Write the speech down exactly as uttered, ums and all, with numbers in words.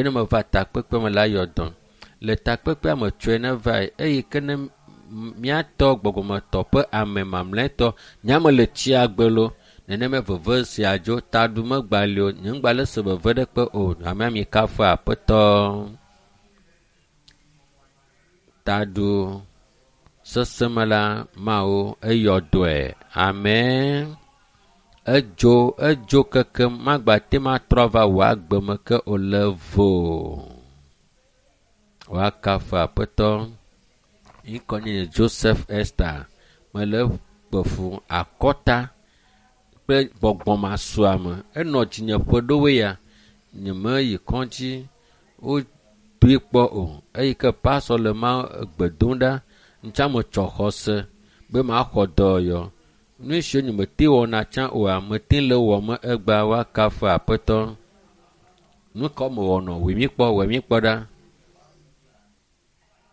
Be ne meva takpekpe me la yɔ dɔm. Le takpekpea me tsɔe ne vae eye ke ne míatɔ gbɔgbɔmetɔ ƒe ame mamlɛtɔ nyame le tsia gbe lo nenema veve sia dzo taɖu megba li o nye ŋgba le se veve ɖe kpe o hamea mi kafu aƒetɔ taɖu seseme la mawo eyɔ dɔe amen edzo edzo keke magba te ma trɔ va wò agbe me ke o le vo woakafu aƒetɔ ŋkɔ nye Joseph Esther mele kpefu akɔta kple gbɔgbɔmasuame enɔ dzinye ƒe ɖowoe ya nyemeyi kɔdzi wodoe kpɔ o eyi ke pasɔ le ma gbe dom ɖa ŋtsa metsɔ xɔse be maxɔ dɔyɔ nu siwo nyemete wɔna tsã oa mete le wɔm egbea woakafu aƒetɔ nu ka mewɔnɔ wòe mi kpɔ wòe mi kpɔ ɖa.